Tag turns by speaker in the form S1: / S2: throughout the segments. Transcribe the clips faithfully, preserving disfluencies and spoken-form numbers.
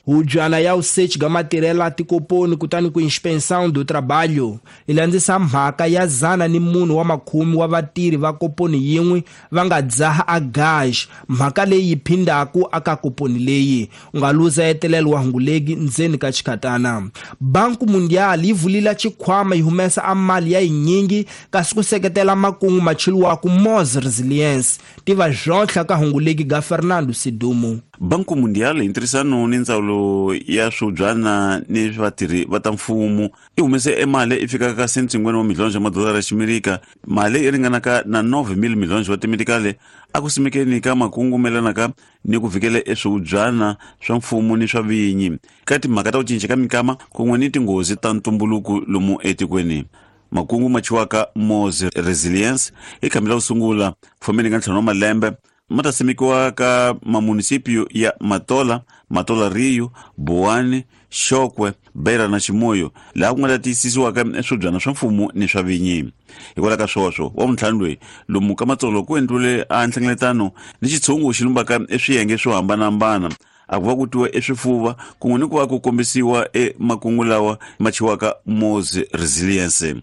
S1: Hubyana ya usech ga matirhela tikoponi kutani ku inspeção do trabalho yi landzisa mhaka ya zana ni munhu wa makhumi wa vatirhi va koponi yin'we va nga dzaha a gaj mhaka leyi yi phindhaku aka koponi leyi u nga luza etelelo wa hungulegi ndzeni ka xikhatana. Banku Mundial yi vulila xikhwama yi humesa a mali ya yinyingi kasi ku seketela makungu macheliwaku Mos Resilience tiva zwotlha ka hungulegi ga Fernando Sidumo.
S2: Banku Mundial hi ntirhisano ni ndzawulo ya swibyana ni vatirhi va ta mfumo yi humese emali i fikaka ka cent cinquanta wa milhonji ya madolara ya ximerika, mali yi ringanaka na nove mil milhonji wa timedikale a ku simekeni ka makungu melanaka ni ku vikela eswihubyana swa mfumo ni swa vinyi ka timhaka ta ku cinca ka minkama kun'we ni tinghozi ta ntumbuluko lomu etikweni. Makungu ma chiwaka Mos Resilience i khambi la ku sungula fomeni ka ntlhanu wa malembe ma ta simekiwa ka mamunisipio ya Matola, Matola Rio, Boane, Xokwe, Beira na Chimoio, laha ku nga ta tiyisisiwaka swibyana swa mfumo ni swa vinyi. Hikwalaho ka swoswo wa vuntlhanu loyi lomu ka Matsolo ku endliwile a nhlengeletano ni xitshungu xi lumbaka eswiyenge swo hambanahambana a ku va ku twiwa eswifuva kun'we ni ku va ku kombisiwa emakungu lawa ma chiwaka Mos Resilience.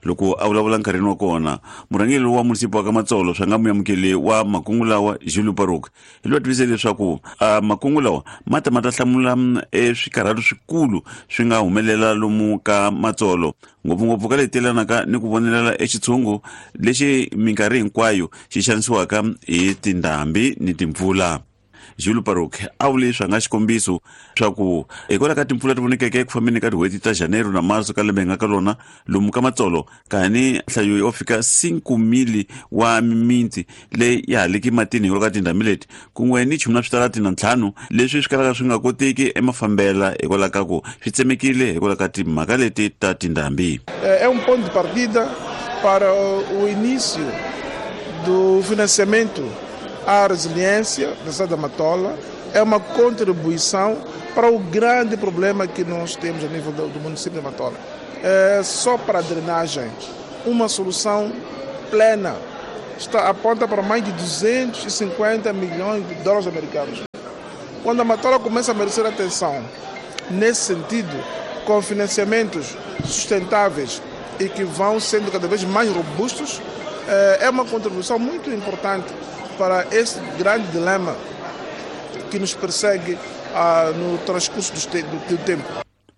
S2: Loko a vulavula nkarhini wa kona, murhangeri wa munisipi wa ka Matsolo swa nga muyamukeli wa makungu lawa Julio Paruk hi loyi a tivise leswaku a makungu lawa ma ta ma ta hlamula eswikarhalo swikulu swi nga humelela lomu ka Matsolo, ngopfungopfu ka leti yelanaka ni ku vonelela exitshungu lexi minkarhi hinkwayo xi xanisiwaka hi tindhambi ni timpfula. Julio Paruk a vule swa nga xikombiso swa ku hikwalaho ka timpfula ti vonekeke eku fambeni ka tin'hweti ta Janeiro na Marso ka lembe hi nga ka lona lomu ka Matsolo kani nhlayo yo fika cinco mil wa mimiti leyi ya haliki matini hikwalaho ka tindhambi leti kun'we ni chumu na switarati na ntlhanu leswi swi kalaka swi nga koteki emafambela hikwalaho ka ku swi tsemekile hikwalaho ka timhaka leti ta tindhambi.
S3: É um ponto de partida para o início do financiamento à resiliência da cidade da Matola. É uma contribuição para o grande problema que nós temos a nível do, do município de Matola. É só para a drenagem, uma solução plena está, aponta para mais de duzentos e cinquenta milhões de dólares americanos. Quando a Matola começa a merecer atenção, nesse sentido, com financiamentos sustentáveis e que vão sendo cada vez mais robustos, é uma contribuição muito importante para esse grande dilema que nos persegue ah, no transcurso do, te do, do tempo.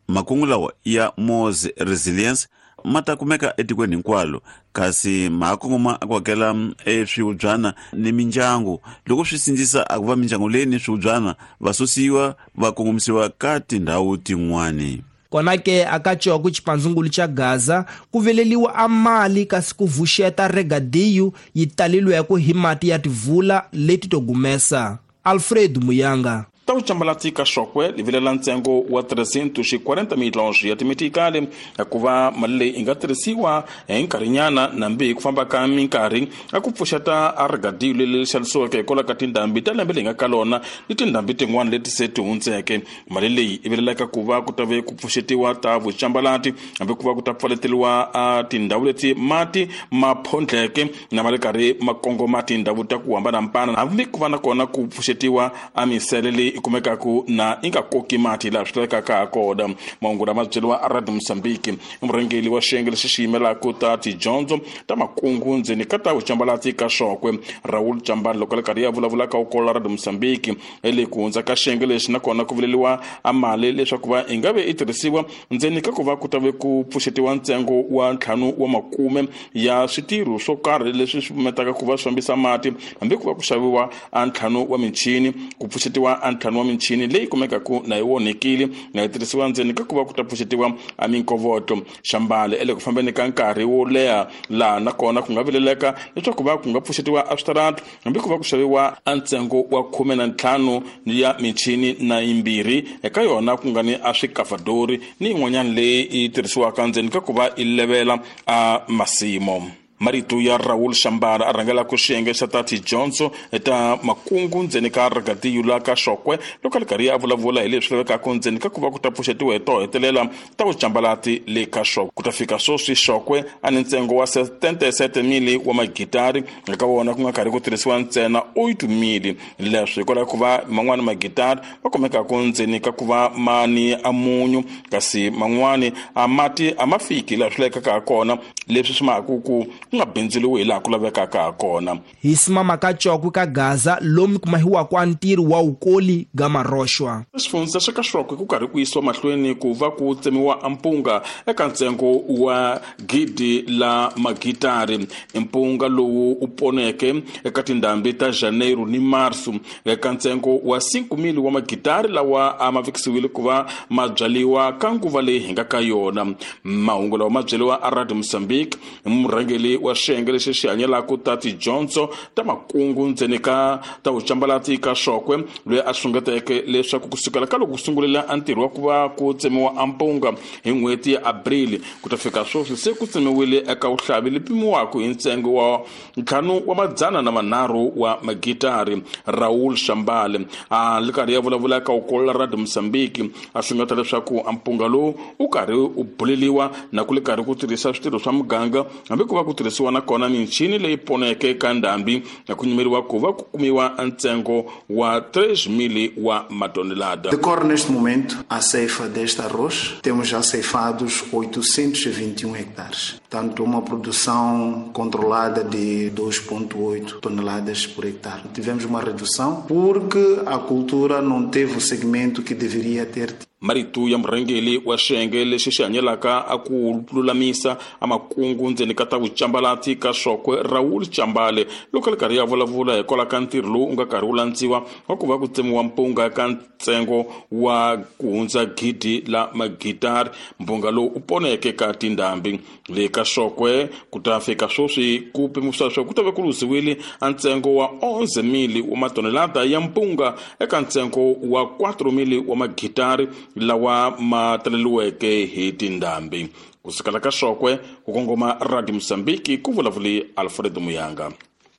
S2: Makungu lawa ya Mos Resilience ma ta kumeka etikweni hinkwalo kasi ma kongoma ku hakela eswihubyana ni mindyangu loko swi sindzisa a ku va mindyangu leyi ni swihubyana va susiwa va kongomisiwa ka tindhawu tin'wani.
S1: Kona ke akaciwa ku xipandzungulu xa Gaza ku veleliwa a mali kasi ku vuxeta regadiyu yi taleliweke hi mati ya tivula leti to gumesa. Alfred Muyanga.
S4: Ta vucambalati ka Xokwe li vilela ntsengo wa trezentos e quarenta milhões ya timetikali ku va mali leyi yi nga tirhisiwa hi nkarhinyana nambi hi ku famba ka minkarhi a ku pfuxeta a rigadiyo leri xanisiweke hikwalaho ka tindhambi ta lembe leyi nga ka lona ni tindhambi tin'wana leti se ti hundzeke. Mali leyi yi vilelaka ku va ku ta ve ku pfuxetiwa ta vucambalati hambi ku va ku ta pfaleteliwa a tindhawu leti mati ma phondleke na ma ri karhi ma kongoma tindhawu ta ku hambanahambana, hambi ku va na kona ku pfuxetiwa a misele leyi yi kumekaku na yi nga koki mati laha swi lavekaka ha kona. Mahungu lama byeriwa a Radio Mosambiki i murhangeri wa xiyenge lexi xi yimelaka ta tidyondzo ta makungu ndzeni ka ta vucambalati ka Xokwe, Raul Jambani, loko le karhi ya vulavula ka ukolo Radio Mosambiki ele ku hundza ka xiyenge lexi nakona ku vuleliwa a mali leswaku va yi nga ve yi tirhisiwa ndzeni ka ku va ku ta ve ku pfuxetiwa ntsengo wa ntlhanu wa makume ya switirho swo karhi leswi swi pfumetaka ku va swi fambisa mati, hambi ku va ku xaviwa a ntlhanu wa michini, ku pfuxetiwa a ntlhanu wa michini leyi kumekaku na yi onhekile na yi tirhisiwa ndzeni ka ku va ku ta pfuxetiwa a minkovoto. Xambale ele ku fambeni ka nkarhi wo leha laha nakona ku nga vileleka leswaku va ku nga pfuxetiwa a switarati, hambi ku va ku xaviwa a ntsengo wa khume na ntlhanu ya michini na yimbirhi eka yona ku nga ni a swikafadori ni yin'wanyana leyi yi tirhisiwaka ndzeni ka ku va yi levela a masimo. Marito ya Raul Shambara a rhangelaka xiyenge xa ta tidyondzo ta makungu ndzeni ka ragadiyu la ka Xokwe loko a ri karhi a vulavula hi leswi lavekaka ndzeni ka ku va ku ta pfuxetiwa hi to hetelela ta vucambalati le ka Xokwe. Ku ta fika sweswi Xokwe a ni ntsengo wa setenta e sete mili wa magitari, eka wona ku nga karhi ku tirhisiwa ntsena oito mili. Leswi hikwalaho ku va man'wani magitari va kumekaka ndzeni ka ku va ma ni a munyu, kasi man'wani a mati a ma fiki laha swi lavekaka ha kona, leswi swi mahaka ku ku nga bindzuriwi hi laha ku lavekaka ha kona.
S1: Hi simama ka Cokwe ka Gaza lomu kumahiwaka a ntirho wa wukoli ga maroxwa.
S4: Xifundza xa ka Xokwe ku karhi ku yisiwa mahlweni ku va ku tsemiwa mpunga eka ntsengo wa gidi la magitari. Mpunga lowu u poneke eka tindhambi ta Janeiro ni Marso eka ntsengo wa cinco mil wa magitari lawa a ma vekisiwile ku va ma byaliwa ka nguva leyi hi nga ka yona. Mahungu lawa ma byeriwa a Radio Mozambique murhangeri wa xiyenge lexi xi hanyelaka ta tidyondzo ta makungu ndzeni ka ta vucambalati ka Xokwe, loyi a sungeteke leswaku kusukela ka loko ku sungulela a ntirho wa ku va ku tsemiwa a mpunga hi n'hweti ya April ku ta fika sweswi se ku tsemiwile eka vuhlavi leyi pimiwaka hi ntsengo wa ntlhanu wa madzana na manharhu wa magitari. Raul Shambale a li karhi ya vulavula ka ukolola Radio Mozambique a sungeta leswaku a mpunga lowu u karhi u buleliwa na ku li karhi ku tirhisa switirho swa muganga, hambi ku va ku tirhisiwa na kona michini leyi poneke ka ndhambi, na ku nyimeriwa ku va ku kumiwa ntsengo wa três mil wa matonelada.
S5: Decorre neste momento a ceifa deste arroz. Temos já ceifados oitocentos e vinte e um hectares. Portanto, uma produção controlada de dois ponto oito toneladas por hectare. Tivemos uma redução porque a cultura não teve o segmento que deveria ter.
S4: Marito ya murhangeri wa xiyenge lexi xi hanyelaka a ku lulamisa a makungu ndzeni ka ta vucambalati ka Xokwe Raul Chambale loko a ri karhi ya vulavula hikwalaho ka ntirho lowu u nga karhi wu landziwa wa ku va ku tsemiwa mpunga ka ntsengo wa ku hundza gidi la magitari. Mpunga lowu u poneke ka tindhambi le ka Xokwe ku ta fika sweswi ku pimisiwa leswaku ku ta va ku luziwile a ntsengo wa onze mil wa matonelada ya mpunga eka ntsengo wa quatro mil wa magitari lawa ma taleliweke hi tindhambi. Kusukela ka Xokwe ku kongoma Radio Mozambique ku vulavuli Alfredo Muyanga.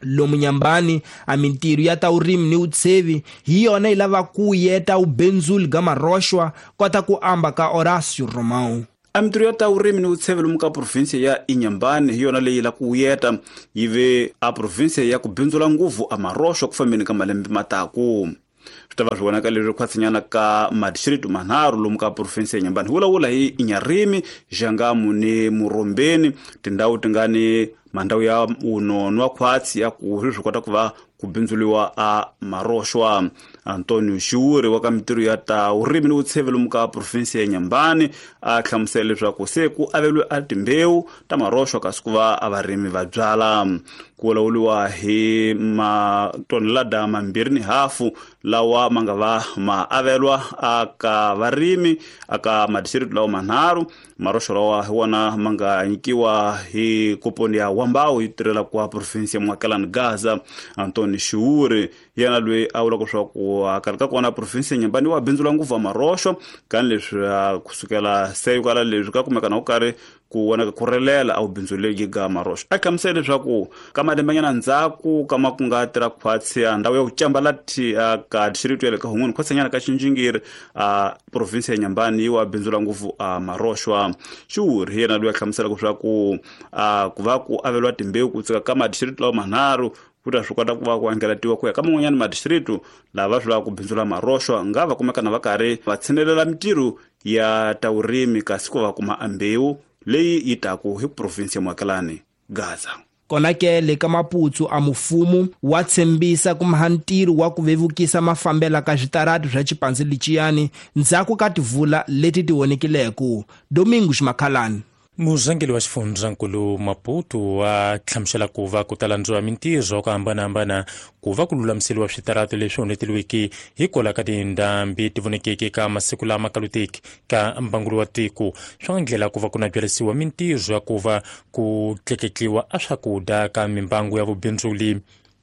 S1: Lomu nyambani a mintirho ya ta urimi ni utsevi hi yona yi lava ku yeta ubenzuli ga maroxwa kota ku amba ka Horácio Romão.
S6: A mintirho ya ta urimi ni utsevi lomu ka provinsia ya Inhambane hi yona leyi la ku yeta yi ve a provinsia ya ku bindzula nguvu a maroxwa ku fambeni ka malembe mataku. Swi ta va swi vonaka leswi khwatsinyana ka madistritu manharhu lomu ka provinsia ya Inhambane. Hi vulavula hi Inharime, Jangamo ni Murombeni, tindhawu ti nga ni mandhawu ya unonwa khwatsi ya ku swi kota ku va ku bindzuliwa a maroxwa. Antonio Xiuri wa ka mintirho ya ta urimi ni vutsheve lomu ka provinsia ya Inhambane a hlamusela leswaku se ku aveliwe a timbewu ta maroxwa kasi ku va a varimi va byala. Ku vulavuriwa hi matonelada mambirhi ni hafu lawa ma nga va ma avelwa aka varimi aka madistritu lawa manharhu. Maroxwa lawa hi wona ma nga nyikiwa hi koponi ya Wambawu yi tirhela kwa provinsia ya Muakelane Gaza. Antonio Xiuri yena loyi a vulaka leswaku a karhi ka kona provinsia ya Inhambane wa bindzula nguvu maroxwa kani leswi kusukela se kwala leswi ka kumeka na ku karhi ku vonaka ku relela a wu bindzuleki ga maroxwa. A hlamusela leswaku ka malembenyana ndzhaku ka ma ku nga tirha khwatsi a ndhawu ya ku cambalati ka district ya le ka Hun'wini khwatsinyana ka Xinjingiri a provinsia ya Inhambane yi wa bindzula nguvu a maroxwa. Xiuri yena loyi a hlamuselaka leswaku a ku va ku aveliwa timbewu ku tsika ka madistrict lawa manharhu ku ta swi kota ku va ku angelatiwa ku ya ka man'wanyana madistritu lava swi lavaka ku bindzula maroxwa nga va kumeka na va karhi va tshinelela mintirho ya ta vurimi kasi ku va kuma ambewu leyi yi taku hi provinsi ya Muakelane Gaza.
S1: Kona ke le ka Maputsu a mufumo wa tshembisa ku maha ntirho wa ku vevukisa mafambela ka switarati swa xipandzi lexiyani ndzhaku ka tivula leti ti vonekileko. Domingos Makhalani.
S7: Murhangeri wa xifundzankulu Maputo a hlamusela ku va ku ta landziwa mintirho ku hambanahambana ku va ku lulamiseriwa switarati leswi onheteliweke hikwalaho ka tindhambi ti vonekeke ka masiku lama kaluteki ka mbangulo wa tiko. Swi nga ndlela ku va ku na byarisiwa mintirho ya ku va ku tleketliwa a swakudya ka mimbangu ya vubindzuli.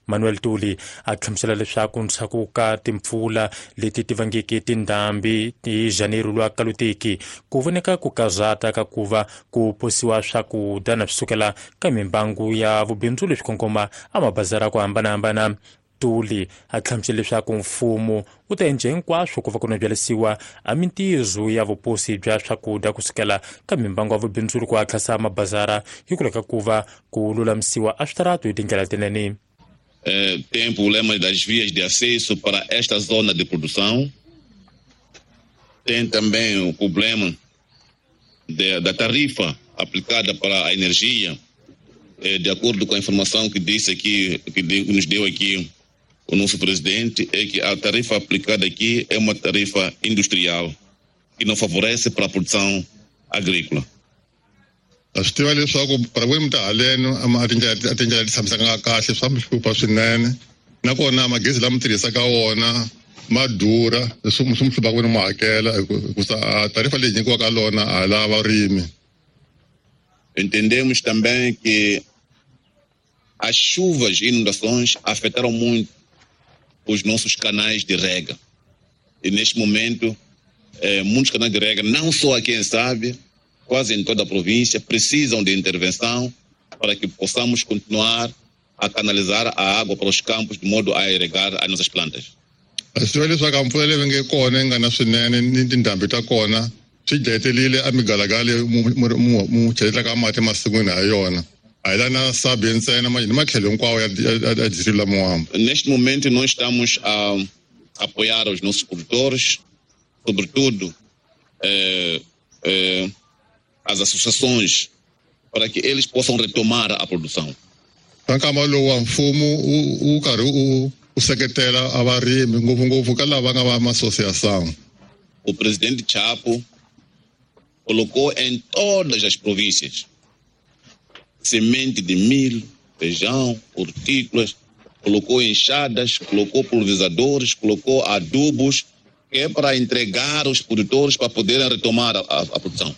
S7: Manuel Tuli a hlamusela leswaku ndzhaku ka timpfula leti ti vangeke tindhambi hi Janeiro lwa kaluteki ku voneka ku kazata ka ku va ku posiwa swakudya na swi sukela ka mimbangu ya vubindzu leswi kongoma a mabazara ku hambanahambana. Tuli a hlamusela leswaku mfumo wu ta endla hinkwaswo ku va ku byalisiwa a mintirho ya vuposi bya swakudya kusukela ka mimbangu ya vubindzuri ku hatlisa mabazara hi ku leka ku va ku lulamisiwa a switaratu hi tindlela tinene.
S8: Eh, tem problema das vias de acesso para esta zona de produção. Tem também o problema de, da tarifa aplicada para a energia. Eh, de acordo com a informação que disse aqui, que nos deu aqui o nosso presidente, é que a tarifa aplicada aqui é uma tarifa industrial que não favorece para a produção agrícola.
S9: Swi tiva leswaku para ku mi ta haleno a tindlela a tindlela ti tshamisaka kahle swa mi hlupha swinene nakona magezi lama tirhisaka wona ma durha swi mi hlupha ku ni mu hakela hikusa tarifa leyi nyikiwaka lona a la varimi.
S8: Entendemos também que as chuvas e inundações afetaram muito os nossos canais de rega. E neste momento, eh, muitos canais de rega, não só aqui em Sábia, quase em toda a província, precisam de intervenção para que possamos continuar a canalizar a água para os campos de modo a irrigar as nossas plantas.
S9: Swi tiva leswaku mpfula leyi nge kona yi nga na swinene ni tindhambi ta kona swi dlayetelile a migalagala mu chelelaka mati emasin'wini ha yona. A hi la na Sabia ntsena ni matlhelo hinkwawo ya distrito la Moamba.
S8: Neste momento nós estamos a apoiar os nossos produtores, sobretudo eh, eh, as associações, para que eles possam retomar a produção.
S9: Nkama lowu wa mfumo wu karhi wu seketela a varimi ngopfungopfu ka lava nga va ma-associação.
S8: O presidente Chapo colocou em todas as províncias semente de milho, feijão, hortícolas, colocou enxadas, colocou pulverizadores, colocou adubos, que é para entregar os produtores para poderem retomar a, a, a produção.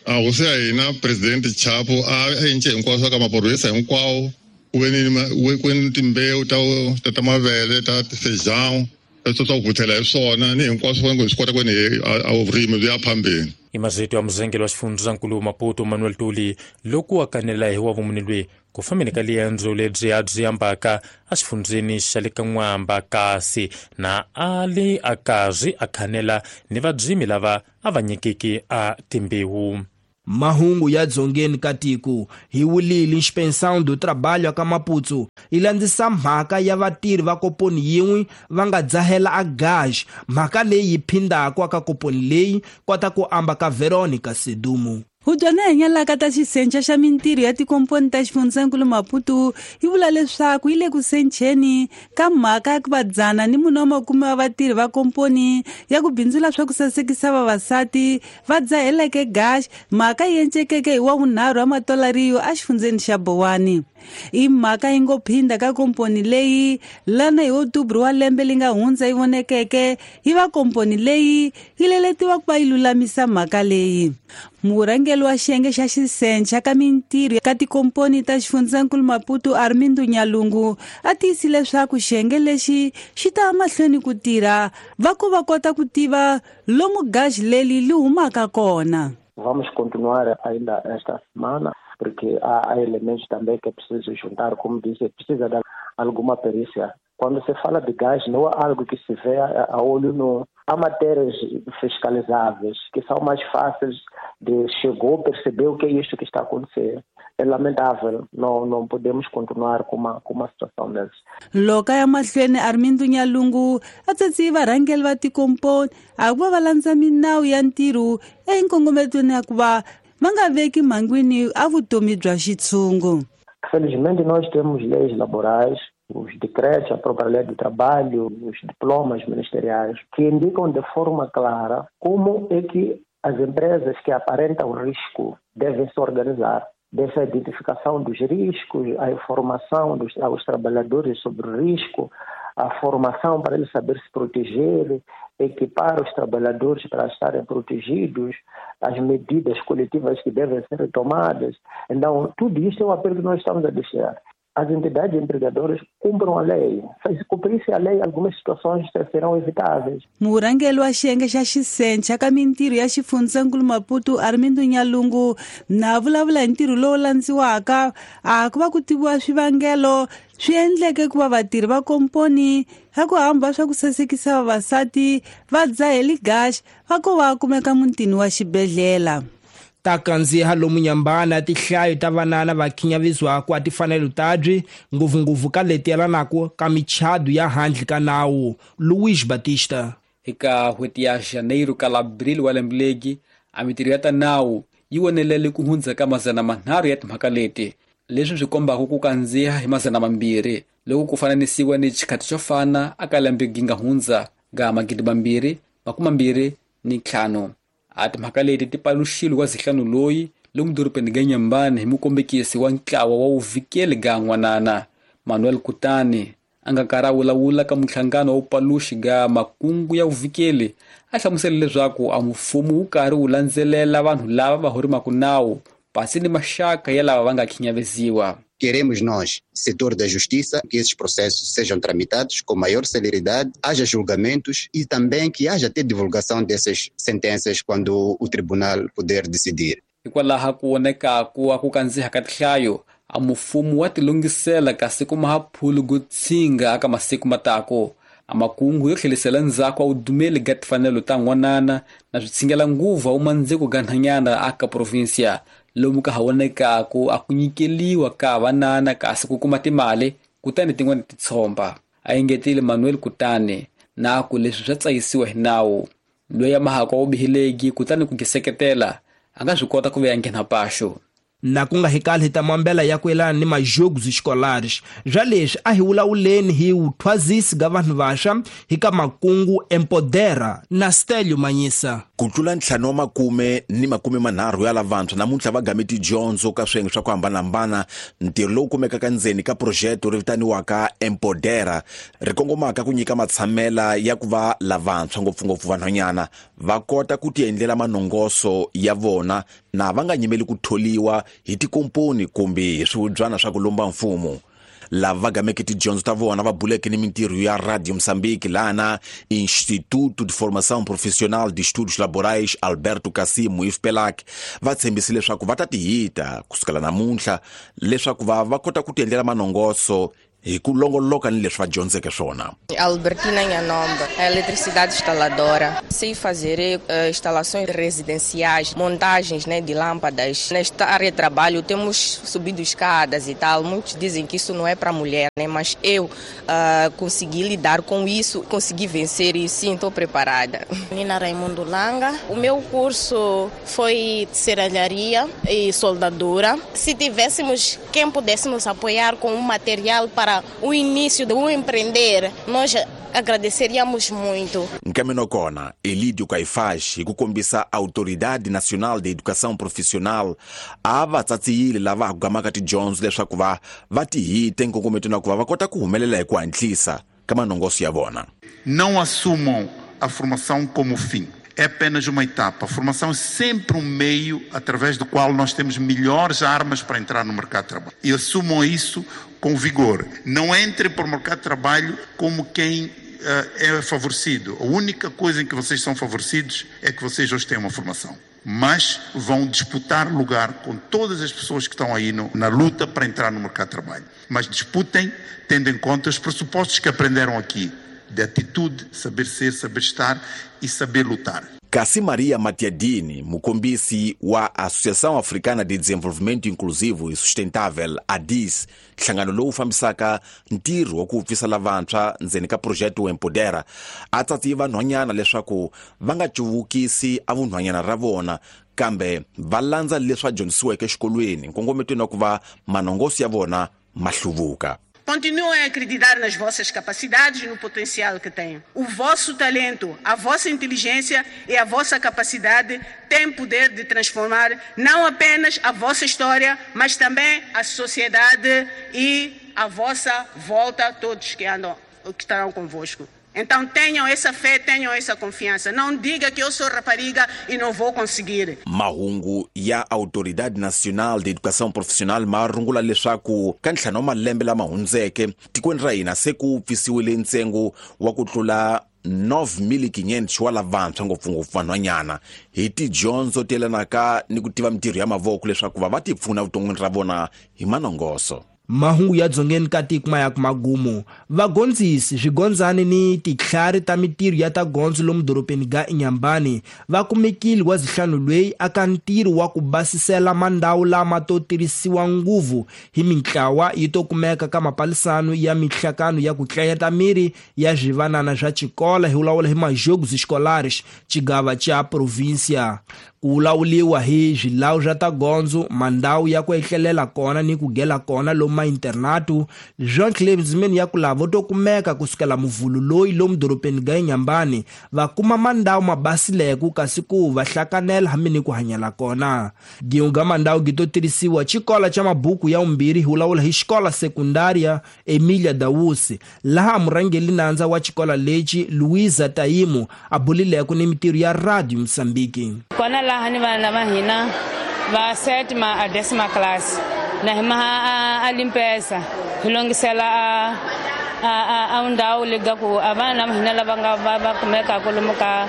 S9: A hosi ya hina presidente Chapo a endle hinkwaswo ka maphorisa hinkwawo ku ve ni ku ni timbewu ta ta ta mavele ta feijão swa ku vuthela hi swona ni hinkwaswo hi swi kota ku ni a vurimi byi ya phambeni.
S7: I mazito ya muzengeli wa xifundzankulu Maputo Manuel Tuli loko a kanela hi wa vumuni lweyi ku fambeni ka liendzo lebyi a byi ambaka exifundzeni xa le ka N'wamba kasi na a li a karhi a khanela ni vadzimi lava a va nyikiki a timbewu.
S1: Mahungu ya dzongeni ka tiko hi wulile Inspeção do Trabalho ka Maputo yi landzisa mhaka ya vatirhi va koponi yin'we va nga dzahela a gaj mhaka leyi yi phindaka ka koponi leyi kota ku amba ka Veronica Sedumo.
S10: Hudyana hi nyalaka ta xisenca xa mintirho ya tikomponi ta xifundzankulu Maputo yi vula leswaku yi le ku sencheni ka mhaka ya ku va dzana ni mune wa makume wa vatirhi va komponi ya ku bindzula swa ku sasekisa vavasati va dzaheleke gax mhaka yi encekeke hi wa vunharhu wa matolariyo exifundzeni xa Bowani. I mhaka yi ngo phinda ka komponi leyi lana hi Otubru wa lembe li nga hundza yi vonekeke yi va komponi leyi yi leletiwa ku va yi lulamisa mhaka leyi. Murhangeri wa xiyenge xa xisenca ka mintirho ka tikomponi ta xifundzankulu Maputo Armindo Nyalungu a tiyisile leswaku xiyenge lexi xi ta mahlweni ku tirha va ku va kota ku tiva lomu gaji leri li humaka kona.
S11: Vamos continuar ainda esta semana, porque há, há elementos também que é preciso juntar, como disse, precisa de alguma perícia. Quando se fala de gás, não é algo que se vê a, a olho nu. Há matérias fiscalizáveis que são mais fáceis de chegou, perceber o que é isto que está a acontecer. É lamentável, não, não podemos continuar com uma, com uma situação dessas.
S10: Loka ya mahlweni Armindo Nyalungu a tsatsi varhangeri va tikomponi a ku va va landza minawu ya ntirho enkongometweni ya ku va va nga veki mhangwini a vutomi bya xitshungu.
S11: Felizmente nós temos leis laborais, os decretos, a própria lei do trabalho, os diplomas ministeriais, que indicam de forma clara como é que as empresas que aparentam risco devem se organizar. Dessa identificação dos riscos, a informação dos, aos trabalhadores sobre o risco, a formação para ele saber se proteger, equipar os trabalhadores para estarem protegidos, as medidas coletivas que devem ser tomadas. Então, tudo isso é um apelo que nós estamos a deixar. As entidades empregadoras cumpram a lei. Se cumprisse a lei, algumas situações serão evitáveis.
S10: Murhangeri wa xiyenge xa xisencha ka mintirho ya xifundzankulu Maputo Armindo Nyalungu na vulavula hi ntirho lowu landziwaka a ku va ku tiviwa swivangelo swi endleke ku va vatirhi va komponi ya ku hamba swa ku sasekisa vavasati va dzaheli gax va ko va kumeka mutini wa xibedhlele.
S1: Ta kandziha lomu nyambana tihlayo ta vanana va khinyavizwaku a tifanelo tabyi ngopfungopfu ka leti yelanaka ka michado ya handle ka nawu. Luis Batista.
S12: Eka n'hweti ya Janeiro ka Abril wa lembe legi a mitirho ya ta nawu yi wonelele ku hundza ka mazana manharhu ya timhaka leti, leswi swi kombaka ku kandziha hi mazana mambirhi loko ku fananisiwa ni xikhathi xo fana aka lembe gi nga hundza ga magidi mambirhi makume mambirhi ni ntlhanu. A timhaka leti ti paluxile wa zihlanu loyi lomu dorobeni ga Nyambani hi mukombekisi wa ntlawa wa vuvikeli ga n'wanana Manuel Kutani a nga karhi a vulavula ka muhlangano wa vupaluxi ga makungu ya vuvikeli a hlamusela leswaku a mfumo wu karhi wu landzelela vanhu lava va horimaka nawu pasi ni maxaka ya lava va nga khinyaveziwa.
S13: Queremos nós, setor da justiça, que esses processos sejam tramitados com maior celeridade, haja julgamentos e também que haja até divulgação dessas sentenças quando o tribunal puder decidir.
S12: Hikwalaho ku vonekaku a ku kandziha ka tinhlayo, a mfumo wa tilunghisela kasi ku maha phulu ku tshinga aka masiku matako. A makungu yo tlhelisela ndzhaku a vudumeli ga timfanelo ta n'wanana na switshingela nguvu a wumandziko ga nhanyana aka provinsia lomu ka ha vonekaku a ku nyikeliwa ka vanana kasi ku kuma timali kutani tin'wana ti tshomba. A engetile Manuel Kutani na ku leswi swa tsayisiwa hi nawu. Loyi a mahaka wa vubihilegi kutani ku giseketela a nga swi kota ku vuya nghena paxo.
S1: Na ku nga hikali hi ta mambela ya ku yelana ni majogos escolares. Bya leswi a hi vulavuleni hi vuthwazisi ga vanhu vaxa hi ka makungu Empodera na Stelio Manyisa.
S14: Ku tlula ntlhanu wa makume ni makume manharhu ya lavantshwa namuntlha va game tidyondzo ka swiyenge swa ku hambanahambana. Ntirho lowu kumekaka ndzeni ka projeto ri vitaniwaka Empodera ri kongomaka ku nyika matshamela ya ku va lavantshwa ngopfungopfu vanhwanyana va kota ku tiendlela manongoso ya vona na va nga nyimeli ku tholiwa hi tikomponi kumbe hi swihubyana swa ku lomba mfumo. Lava va gameke tidyondzo ta vona va buleke ni mintirho ya Radio Moçambique lana Instituto de Formação Profissional de Estudos Laborais Alberto Cassimo I F P E L A C va tshembise leswaku va ta tihita kusukela namuntlha leswaku va va kota ku tiendlela manongoso hi ku longoloka ni leswi va dyondzeke swona.
S15: Albertina Nhanomba, eletricidade instaladora. Sei fazer uh, instalações residenciais, montagens, né, de lâmpadas. Nesta área de trabalho temos subido escadas e tal. Muitos dizem que isso não é para mulher, né, mas eu uh, consegui lidar com isso, consegui vencer e sim, estou preparada.
S16: Nina Raimundo Langa. O meu curso foi de serralharia e soldadura. Se tivéssemos quem pudesse nos apoiar com um material para o início de um empreender, nós agradeceríamos muito.
S14: Nkaminokona, Elidio Caifás, hi ku kombisa Autoridade Nacional de Educação Profissional a va tsatsiyile lava ha ku gamaka tidyondzo leswaku va va tihite nkongometo na ku va va kota ku humelela hi ku hatlisa ka manongoso ya vona.
S17: Não assumam a formação como fim. É apenas uma etapa. A formação é sempre um meio através do qual nós temos melhores armas para entrar no mercado de trabalho. E assumam isso com vigor. Não entrem para o mercado de trabalho como quem uh, é favorecido. A única coisa em que vocês são favorecidos é que vocês hoje têm uma formação. Mas vão disputar lugar com todas as pessoas que estão aí no, na luta para entrar no mercado de trabalho. Mas disputem tendo em conta os pressupostos que aprenderam aqui, de atitude, saber ser, saber estar e saber lutar.
S14: Kasi Maria Matiadini, mukombisi wa Associação Africana de Desenvolvimento Inclusivo e Sustentável, A D I S, nhlangano lowu fambisaka ntirho wa ku pfisa lavantshwa ndzeni ka projeto Empodera, a tsatsiye vanhwanyana leswaku va nga cuvukisi a vunhwanyana ra vona kambe va landza leswi va dyondzisiweke exikolweni nkongometweni wa ku va manongoso ya vona ma hluvuka.
S18: Continuem a acreditar nas vossas capacidades e no potencial que têm. O vosso talento, a vossa inteligência e a vossa capacidade têm poder de transformar não apenas a vossa história, mas também a sociedade e a vossa volta, todos que andam que estarão convosco. Então tenham essa fé, tenham essa confiança. Não diga que eu sou rapariga e não vou conseguir.
S14: Mahungu ya Autoridade Nacional de Educação Profissional marungula leswaku ka ntlhanu wa malembe lama hundzeke tikweni ra hina se ku pfisiwile ntsengo wa ku tlula nove mil quinhentos wa lavantshwa ngopfungopfu vanhwanyana hi tidyondzo ti yelanaka ni ku tiva mintirho ya mavoko leswaku va va ti pfuna vuton'wini ra vona hi manongoso.
S1: Mahungu ya dzongeni ka tiko ma ya ku magumu vagondzisi swigondzani ni titlhari ta mintirho ya ta gondzo lomu dorobeni ga Inhambane va kumekile wa zihlanu lweyi aka ntirho wa ku basisela mandhawu lama to tirhisiwa nguvu hi mintlawa yi to kumeka ka mapalisano ya mihlakano ya ku tlayeta miri ya swivanana swa xikola hi vulavula hi majogos escolares xigava xa província. Ku vulavuriwa hi swilawu swa ta gondzo mandhawu ya ku etlelela kona ni ku gela kona lomu ma internato Jean Clebsman ya ku lavo to kumeka kusukela muvhulu loyi lomu dorobeni ga Inhambane va kuma mandhawu ma basileke kasi ku va hlakanela hambi ni ku hanyela kona. Giunga mandhawu gi to tirhisiwa xikola xa mabuku ya umbirhi hi vulavula hi xikola sekundaria Emilia Dawusi laha murhangeri nandza wa xikola lexi Luisa Taimo a bulileke ni mintirho ya Radio Mozambique.
S19: Kona laha ni vana va hina va sétima a décima classe na hi maha a limpeza hi longisela a a a ndhawu lega ku a vana va hina lava nga va va kumekaka lomu ka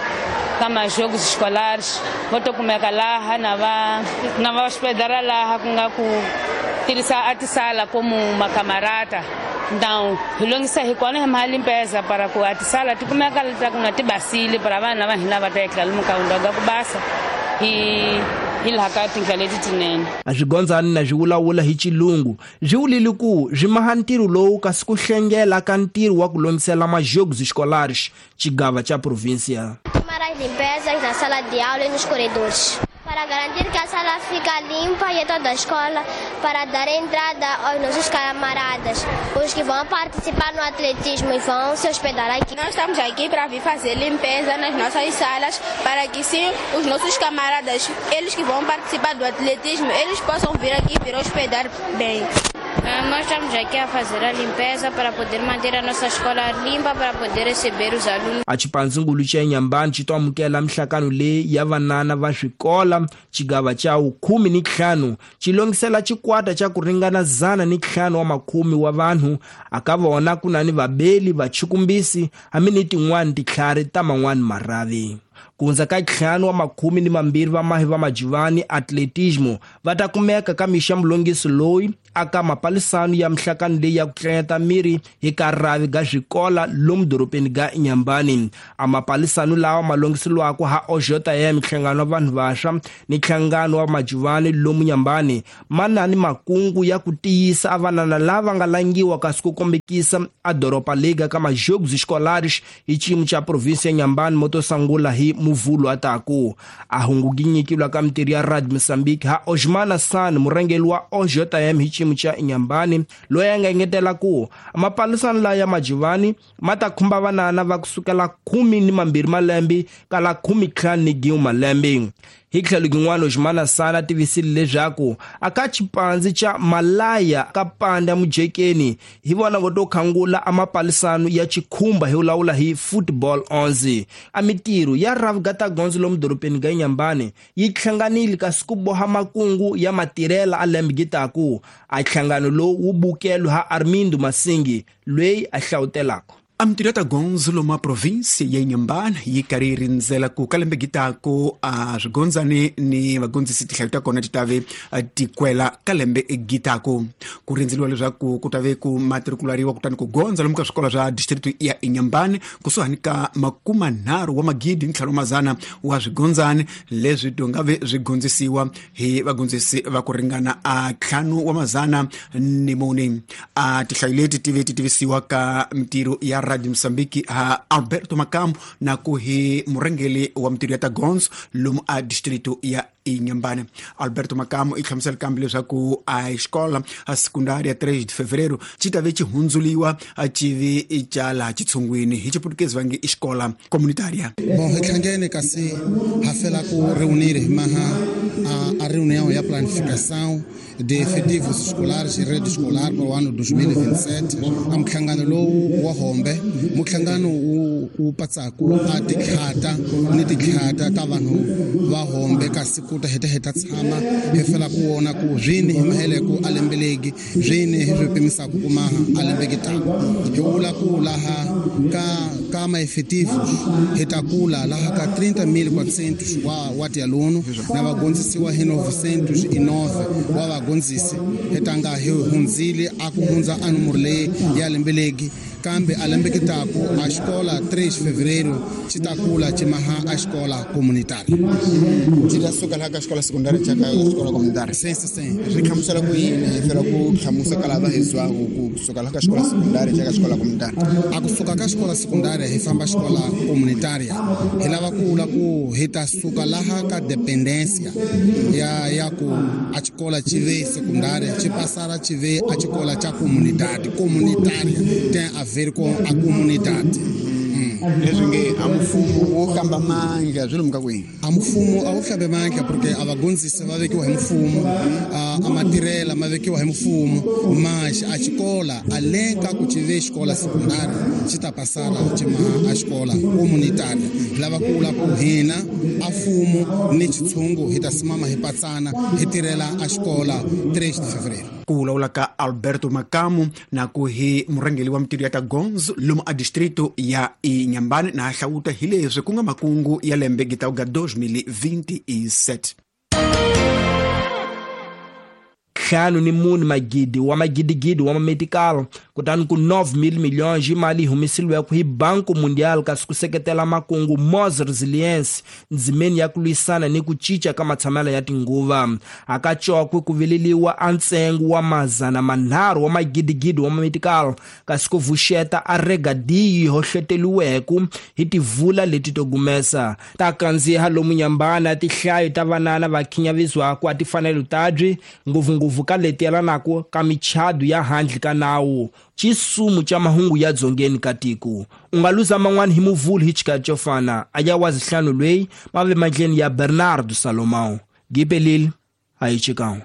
S19: ka majogos escolares vo to kumeka laha na va na va hospedara laha ku nga ku tirhisa a tisala como macamarata. Então hi longisa hi kona hi maha limpeza para ku a tisala ti kumeka leta ku na ti basile para vana va hina va ta etlela lomu ka ndhawu ga ku basa hi hi laha ka tindlela leti tinene.
S1: A swigondzani na swi vulavula hi xilungu swi vulile ku swi maha ntirho lowu kasi ku hlengela ka ntirho wa ku longisela majogos escolares xigava xa província.
S20: Tomar as limpezas na sala de aula e nos corredores para garantir que a sala fica limpa e toda a escola, para dar entrada aos nossos camaradas, os que vão participar no atletismo e vão se hospedar aqui.
S21: Nós estamos aqui para vir fazer limpeza nas nossas salas, para que sim, os nossos camaradas, eles que vão participar do atletismo, eles possam vir aqui e vir hospedar bem.
S22: Nós estamos aqui a fazer a limpeza para poder manter a nossa escola limpa, para poder receber os alunos.
S1: A xipandzingulu xa Inhambane xi to amukela mihlakano leyi ya vanana va swikola xigava xa khume ni ntlhanu xi longisela xikwata xa ku ringana zana ni ntlhanu wa makhume wa vanhu aka vona ku na ni vabeli vachukumbisi hambi ni tin'wani titlhari ta man'wani marhavi. Ku hundza ka ntlhanu wa makhume ni mambirhi va mahi va majivani atletismo va ta kumeka ka mixa mulongisi loyi aka mapalisano ya mihlakano leyi ya ku tlanyeta miri hi ka rhavi ga swikola lomu dorobeni ga Inhambane. A mapalisano lawa ma longisiwaka ha O J M nhlangano wa vanhu vantshwa ni nhlangano wa majivani lomu Inhambane ma na ni makungu ya ku tiyisa a vanana lava nga langiwa kasi ku kombekisa a doroba lega ka majogos escolares hi xiyimo xa província ya Inhambane mo to sungula hi muvhulu ataku. A hungu gi nyikiwa ka mintirho ya Radio Mozambique ha Osmana San murhangeri wa O J M hi xiyimo xa Inhambane loyi a nga engetela ku mapalisano laya ya majivani ma ta khumba vanana va kusukela khume ni mambirhi malembe kala khume ntlhanu ni gin'we malembe. Hi tlhelo gin'wana Osmana San a tivisile leswaku aka xipandzi xa Malaya ka panda mujekeni hi vona vo to khangula a mapalisano ya xikhumba hi vulavula hi football onze. A mintirho ya Ravgata Gondzo lomu dorobeni ga Inhambane yi hlanganile kasi ku boha makungu ya matirhela a lembe gitaku. A nhlangano lowu wu bukelwe ha Armindo Masingi loyi a hlawutelaka.
S23: A mintirho ya ta gondzo lomu a província ya Inhambane yi karhi yi rindzela ku ka lembe gitaku a swigondzani ni vagondzisi tihlayo ta kona ti tave ti kwela ka lembe gitaku. Ku rindzeliwa leswaku ku tave ku matrikulariwa kutani ku gondza lomu ka swikolo swa district ya Inhambane kusuhani ka makumanharhu wa magidi ni ntlhanu mazana wa swigondzani leswi to nga ve swi gondzisiwa hi vagondzisi va ku ringana a ntlhanu wa mazana ni mune. A tihlayo leti ti ve ti tivisiwa ka mintirho ya Radio Mozambique ha Alberto Macambo na ku hi murhangeri wa mintirho ya ta gondzo lomu a distrito ya Inhambane. Alberto Macamo i hlamusela kambe leswaku a xikola a secundária três de fevereiro ci ta ve ci hundzuriwa a ci vi ca laha xitshungwini hi xiputukezi va nge i xikola comunitária.
S2: Bom, hi hlangene kasi ha fela ku reunir hi maha a, a reunião ya planificação de efetivos escolares e rede escolar para o ano dois mil e vinte e sete. A muhlangano lowu wa Hombe, muhlangano wu wu patsaku a tikhata ni tikhata ta vanhu va Hombe kasi ku ta heta heta tshama hi fela ku vona ku swini hi maheleko a lembelegi swini hi swi pimisaka ku maha a lembeki tano. Hi vula ku laha ka ka ma efetivos hi ta kula laha ka trinta mil quatrocentos wa wa tialuno na vagondzisiwa hi novecentos e nove wa vagondzisi hi tanga hi hundzile a ku hundza a nomoro leyi ya lembelegi kambe a lembe kitaku a xikola três de fevereiro xi ta kula xi maha a xikola comunitária.
S3: Xi ta suka laha ka xikola secundária xa ka xikola comunitária.
S2: Sim, sim, sim.
S3: Swi hlamusela ku yini hi fela ku hlamusela ka lava hi zwaku ku suka laha ka xikola secundária xa ka xikola comunitária?
S2: A kusuka ka xikola secundária hi famba xikola comunitária. Hi lava ku vula ku hi ta suka laha ka dependência ya ya ku a xikola xi ve secundária xi passara xi ve a xikola xa comunidade. Comunitária tem a ver com a comunidade.
S3: Leswi nge a mfumo wo hlamba mandla swi lomu ka kwihi?
S2: A mfumo a wu hlambe mandla porque a vagondzisi va vekiwa hi mfumo, a matirhela ma vekiwa hi mfumo, mas a xikola além ka ku xi ve xikola secundária xi ta passara xi maha a xikola comunitária. Hi lava ku vula ku hina a mfumo ni xitshungu hi ta simama hi patsana hi tirhela a xikola três de fevereiro.
S23: Ku vulavula ka Alberto Macamo na ku hi murhangeri wa mitirho ya ta gondzo lomu a distrito ya Inhambane na hlawuta hi leswi ku nga makungu ya lembe gitauga dois mil e vinte e sete.
S1: Ntlhanu ni mune magidi wa magidigidi wa mametikalo kutani ku nove mil milhões hi mali yi humesiliweke hi Banco Mundial kasi ku seketela makungu Mos Resilience ndzimeni ya ku lwisana ni ku cinca ka matshamelo ya tinguva. Hakacokwe ku vileliwa a ntsengo wa mazana manharhu wa magidigidi wa mametikalo kasi ku vuxeta a regadiyo yi hohloteriweke hi tivula leti to gumesa ta kandziha lomu Nyambana tihlayo ta vanana va khinyavizwaku a tifanelo tabyi ngopfungopfu ka leti yelanaka ka michado ya handle ka nawu. Xisumu xa mahungu ya dzongeni ka tiko u nga luza man'wana hi muvhulu hi xikati xo fana a ya wa zihlanu lweyi ma ve mandleni ya Bernardo Salomão. Gipelile a hi xikan'we.